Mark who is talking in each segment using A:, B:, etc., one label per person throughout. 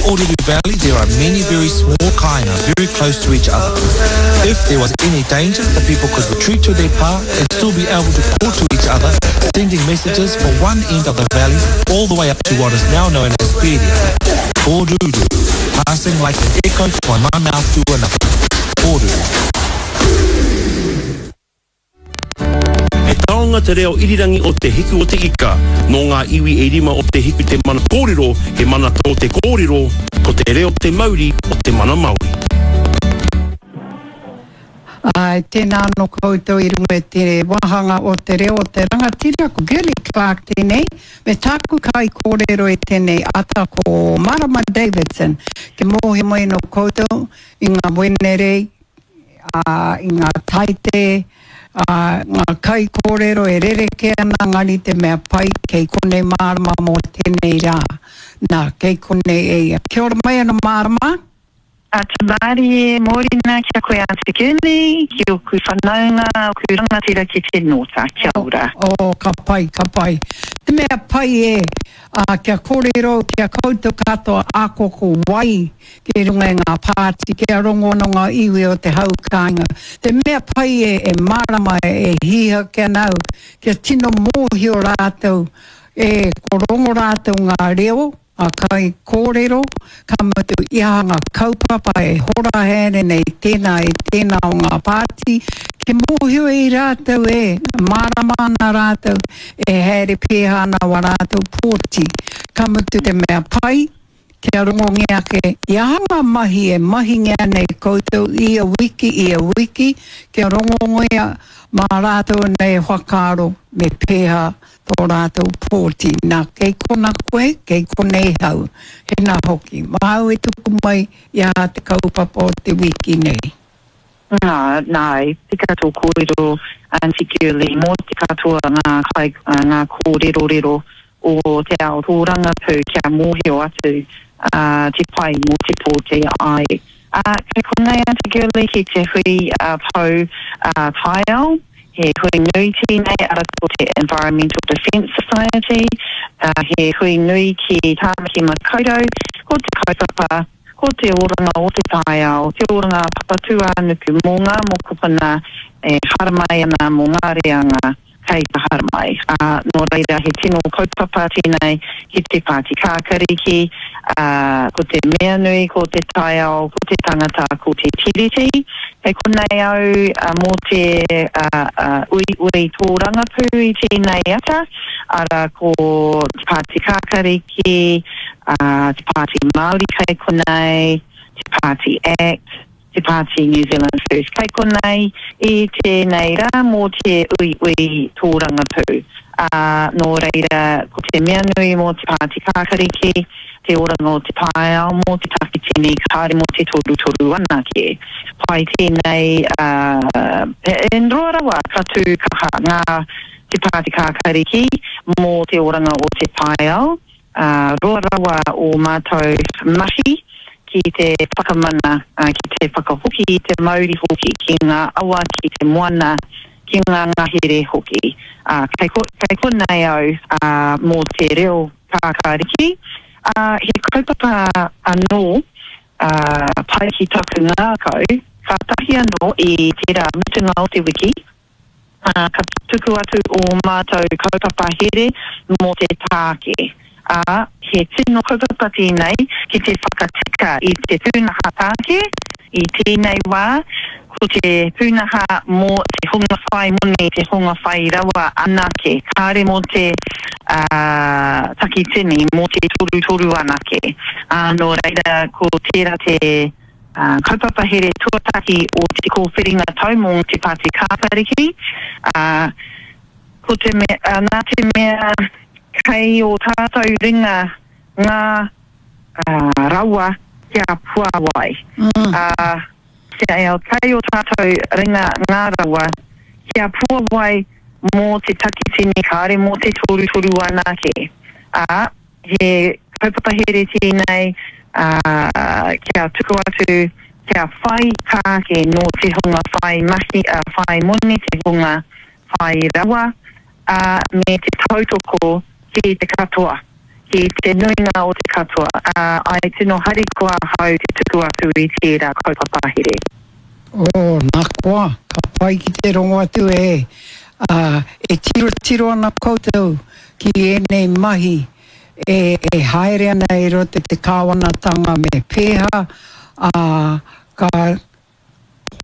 A: Oruru Valley there are many very small kāinga very close to each other. If there was any danger, the people could retreat to their pā and still be able to call to each other, sending messages from one end of the valley all the way up to what is now known as Peria. Oruru, passing like an echo from one mouth to another. Oruru.
B: He taonga te reo irirangi o Te Hiku o Te Ika. Nō ngā iwi e rima o Te Hiku te mana kōrero, he mana tō te kōrero, ko te reo te mauri o te mana Māori.
C: Āe, tēnā anō koutou i runga i te wāhanga o te reo o te rangatira, ko Girlie Clarke tēnei, me tāku kaikōrero i tēnei ata ko Marama Davidson. Kia mōhio mai anō koutou i ngā Wenerei, ā, i ngā Taite, ā, ngā kaikōrero e rerekē ana engari te mea pai kei konei Marama mō tēnei rā. Nā, kei konei e ia. Kia ora mai anō Marama.
D: Ata mārie, mōrena ki a koe Aunty Gurney, ki oku whanaunga, oku rangatira ki te Nōta. Kia ora.
C: Oh, ka pai, ka pai. Te mea pai e, ā, kia kōrero ki a koutou katoa ako ko wai ki runga i ngā pāti, kia rongo anō ngā iwi o te hau kāinga. Te mea pai e, e mārama e, e hīhake ana au, kia tino mōhio rātou, e, ko rongo rātou ngā reo, Ngā kaikōrero, ka mutu i aha ngā kaupapa e hora haere nei tēnā i tēnā o ngā pāti, kia mōhio i rātou e mārama ana rātou e haere pēhā ana wā rātou pōti. Ka mutu te mea pai, kia rongongia ake i aha ngā mahi e mahingia nei koutou ia wiki, ia wiki, kia rongongia mā rātou nei whakaaro me pēhā tō rātou pōti, nā, kei kona koe, kei konei hau. Hena hoki, māu e tuku mai i a te kaupapa o te wiki nei.
D: Nā, nā, i tika tō kōrero, Aunty Girlie, mō te katoa ngā kai, ngā kōrerorero o te ao tōrangapū kia mōhio atu te pai mō te pōti, āe. Ā, kei konei Aunty Girlie ki te hui pou taiao. He hui nui tēnei, ara ko te Environmental Defence Society, he hui nui ki Tāmaki Makaurau, ko te kaupapa, ko te oranga o te taiao, te oranga a Papatūānuku mō ngā mokopuna e haramai ana mō ngā reanga kei te haramai. Ā, nō reira he tino kaupapa tēnei ki te Pāti Kākariki, ā, ko te mea nui ko te taiao, ko te tangata, ko te Tiriti. Kei konei au mō te uiui tōrangapū i tēnei ata, arā ko Te Pāti Kākariki, Te Pāti Māori kei konei, Te Pāti Act, Te Pāti New Zealand First kei konei i tēnei rā mō te uiui tōrangapū. Ā, nō reira ko te mea nui mō Te Pāti Kākariki, te oranga o te taiao mō te takitini, kāore mō te torutoru anake. Pai tēnei, ā, he roa rawa ka tū kaha ngā Te Pāti Kākāriki mō te oranga o te taiao, ā, roa rawa ō mātou mahi ki te whakamana, ā, ki te whakahoki i te mauri hoki ki ngā awa, ki te moana, ki ngā ngahere hoki. Ā, kei, kei konei au, ā, mō te reo Kākāriki, ā, he kaupapa anō, ā, pai ki taku ngākau, kātahi anō i tērā mutunga o te wiki, ā, ka tuku atu ō mātou kaupapa here mō te tāke. Ā, he tino kaupapa tēnei ki te whakatika i te pūnaha tāke, I tēnei wā, ko te pūnaha mō te hunga whai moni, te hunga whai rawa anake, kāre mō te takitini, mō te torutoru anake. Ā, nō reira, ko tērā te kaupapa here tuatahi o te kōwhiringa tau mō Te Pāti Kākāriki, ā, ko te mea, nā te mea kei ō tātou ringa ngā rawa kia puāwai. Ā, kia kei ō tātou ringa ngā rawa kia puāwai mō te takitini kāore mō te torutoru anake. Ā, he kaupapa here tēnei, ā, kia tuku atu, kia whai tāke nō te hunga whai mahi, ā, whai moni, te hunga whai rawa, ā, me te tautoko ki te katoa. ki te nuinga o te katoa, ā, āe tino harikoa ahau te tuku atu i tērā kaupapa here.
C: Oh, nā koa, ka pai ki te rongo atu e, ā, e tirotiro ana koutou ki ēnei mahi e, e haere ana i roto i te kāwanatanga me pēhā, ā, ka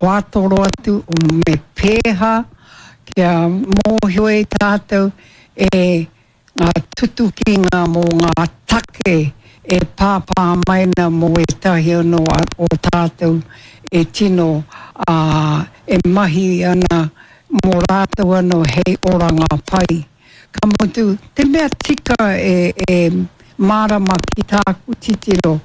C: whātoro atu me pēhā kia mōhio e tātou e ngā tutukinga mō ngā take e pāpā mai ana mō ētahi anō o tātou e tino e mahi ana mō rātou anō hei oranga pai. Ka mutu, te mea tika e mārama ki tāku titiro,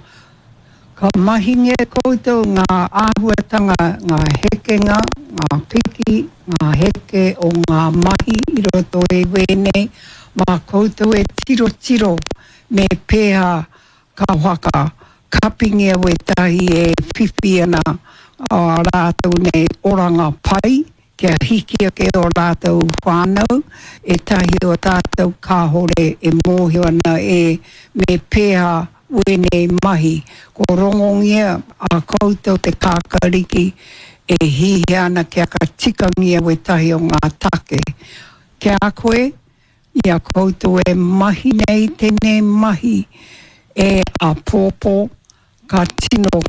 C: Ka mahingia e koutou ngā āhuatanga, ngā hekenga, ngā piki, ngā heke o ngā mahi i roto i wēnei, mā koutou e tirotiro me pēhā ka whaka kapingia wētahi e whiwhi ana ā rātou nei oranga pai kia hiki ake ō rātou whānau, ētahi o tātou kāore e mōhio ana e me pēhā wēnei mahi. Ko rongongia a koutou te kākariki e hihia ana kia ka tikangia wētahi o ngā take. Ki a koe, i a koutou e mahi nei tēnei mahi e āpōpō, Ka tino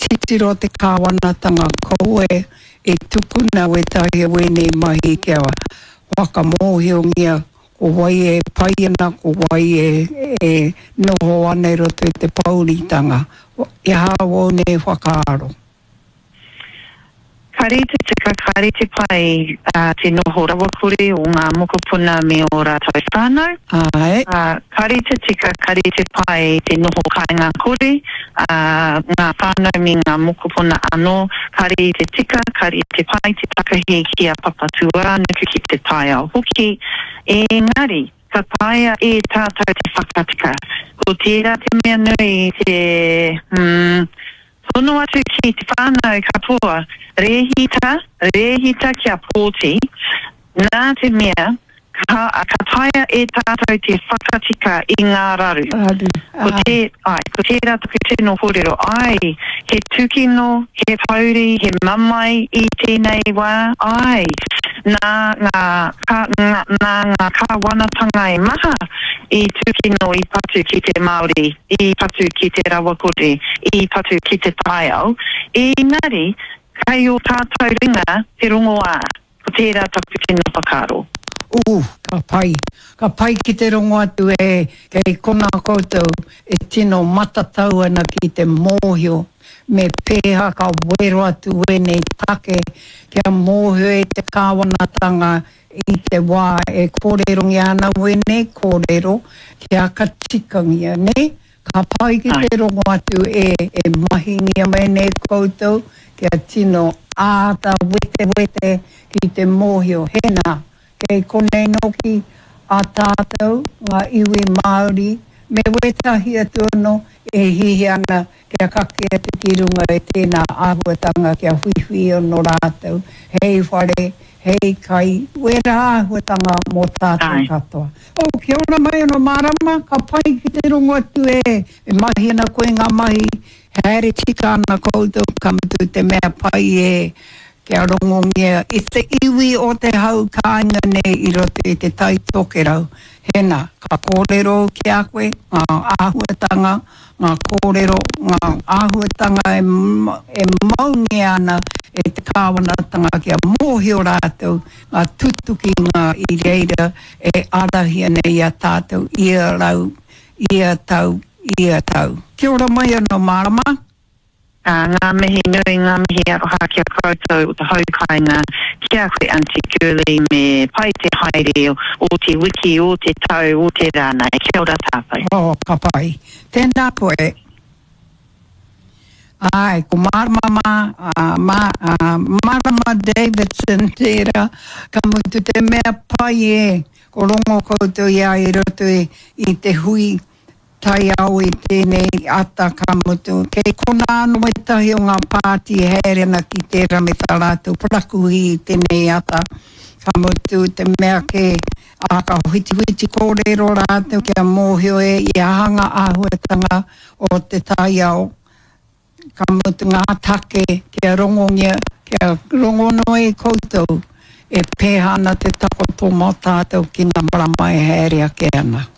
C: titiro te kāwanatanga kaua e tukuna wētahi o ēnei mahi kia whakamōhiongia ko wai e pai ana, ko wai e noho ana i roto i te pōuritanga. He aha ōu nei whakaaro?
D: Ka rite tika, ka rite pai te noho rawakore o ngā mokopuna me ō rātou whānau.
C: Āe.
D: Ka rite tika, ka rite pai te noho kāinga kore a ngā whānau me ngā mokopuna anō. Ka rite tika, ka rite pai te takahi ki a Papatūānuku, ki te taiao hoki. Engari, ka taea e tātou te whakatika. Ko tērā te mea nui te, hmm, Tono atu ki te whānau katoa, rēhita, rēhita kia pōti, nā te mea, ka, ka taea e tātou te whakatika i ngā raru.
C: Raru,
D: Ko
C: āe.
D: tē, āe, ko tērā taku tino kōrero, āe, he tūkino, he pouri, he mamae i tēnei wā, āe, nā ngā, ka, ngā, nā ngā kāwanatanga e maha i tūkino, i patu ki te Māori. i patu ki te rawakore, i patu ki te taiao, engari kei ō tātou ringa te rongoā, ko tērā taku tino whakaaro.
C: Ooh, ka pai. Ka pai ki te rongo atu e, kei konā koutou e tino matatau ana ki te mōhio me pēhā ka wero atu wēnei take kia mōhio e te kāwanatanga I te wā e kōrerongia ana wēnei kōrero kia ka tikangia, nē? Ka pai ki te rongo atu e, e mahingia mai nei koutou kia tino āta wetewete ki te mōhio, hēnā, kei konei nōki a tātou, ngā iwi Māori, me wētahi atu anō e hiahia ana kia kake atu ki runga i tēnā āhuatanga kia whiwhi anō rātou hei whare, hei kai, wērā āhuatanga mō tātou katoa. Oh, kia ora mai anō Marama, ka pai ki te rongo atu e, e mahi ana koe ngā mahi, haere tika ana koutou, ka mutu te mea pai e, kia rongongia i te iwi o te hau kāinga nei i roto i te Tai Tokerau. Hēnā, ka kōrero ki a koe ngā āhuatanga, ngā kōrero, ngā āhuatanga e maungia ana e te kāwanatanga kia mōhio rātou ngā tutukinga i reira e ārahia nei i a tātou ia rau, ia tau, ia tau. Kia ora mai anō Marama.
D: Ā, ngā mihi nui, ngā mihi aroha ki a koutou o te hau kāinga, ki a koe Aunty Girlie me pai te haere o te wiki, o te tau, o te rā nei. Kia ora tātou.
C: Oh, ka pai. Tēnā koe. Āe, ko Marama mā, ā, mā, ā, Marama Davidson tērā, ka mutu te mea pai e, ko rongo koutou i a i roto i, i te hui. taiao i tēnei ata ka mutu, kei konā anō ētahi o ngā pāti e haere ana ki tērā me tā rātou parakuihi i tēnei ata, ka mutu te mea kē, ā, ka whitiwhiti kōrero rātou kia mōhio e i aha ngā āhuatanga o te taiao. Ka mutu ngā take kia rongongia, kia rongo noa i koutou e pēhā ana te takoto mō tātou ki ngā marama e haere ake ana.